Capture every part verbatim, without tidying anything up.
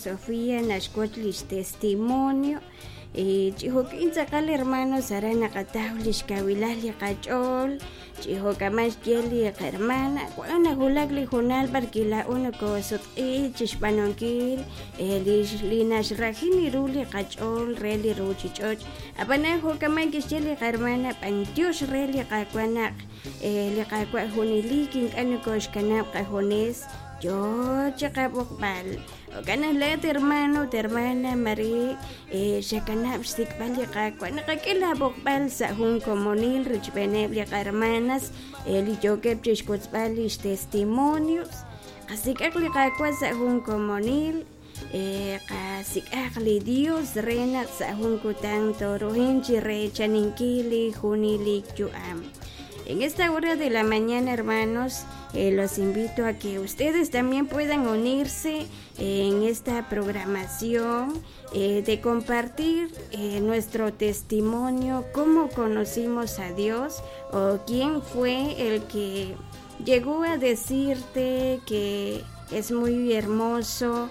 Sofía naxwotz lix testimonio chi jo'ka'in tz'aqal hermanos aran naqataw lix kawilal li qach'ool chi jo'kaman xye li qahermana wan nawulak li hoonal b'ar wi' laa'o nokosutq'iik chixb'aanunkil li naxraji ru li qach'ool re li ruchich'och' ab'anan jo'kaman kixye li qahermana b'antiox re li Qaawa' naq li Qaawa' junelik ink'a' nokoxkanab' qajunes yoo chiqab'oqb'al jo'kan naq laa'at hermano ut hermana Marie xakanab' xsik'b'al li Qaawa' naqak'e laab'oqb'al sa' jun komonil richb'eeneb' li qahermanas li yookeb' chixwotzb'al lix testimonios qasik'aq li Qaawa' sa' jun komonil qasik'aq li Dios re naq sa' jun kutan tooruhanq chi reechaninkil li junelik yu'am. En esta hora de la mañana, hermanos, eh, los invito a que ustedes también puedan unirse en esta programación eh, de compartir eh, nuestro testimonio, cómo conocimos a Dios o quién fue el que llegó a decirte que es muy hermoso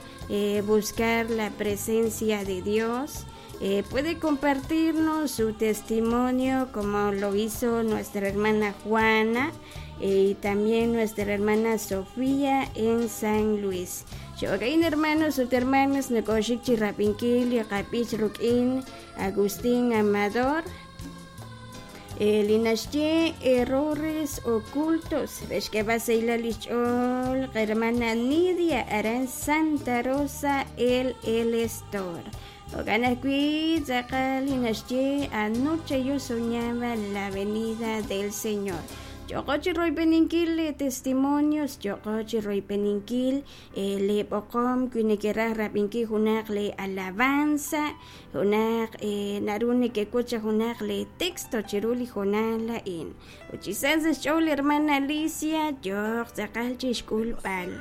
buscar la presencia de Dios. Eh, puede compartirnos su testimonio como lo hizo nuestra hermana Juana eh, y también nuestra hermana Sofía en San Luis. Jo'kain hermanos ut hermanas nokoxik chi rab'inkil li qab'ich ruk'in Agustín Amador li naxye errores ocultos re xk'eb'al sahilal lix ch'ool qahermana Nidia aran Santa Rosa el El Estor. Jo'kan ajwi' tz'aqal li naxye anoche yo soñaba la venida del Señor. Yo'qo chi royb'eninkil li testimonios, yo'qo chi royb'eninkil li b'oqom wi nekeraj rab'inkil junaq li alabanza, junaq naru nekewotz junaq li texto chiru li hoonal a'in. Ut chi sa sa' xch'ool hermana Alicia yooq tz'aqal chixk'ulb'al.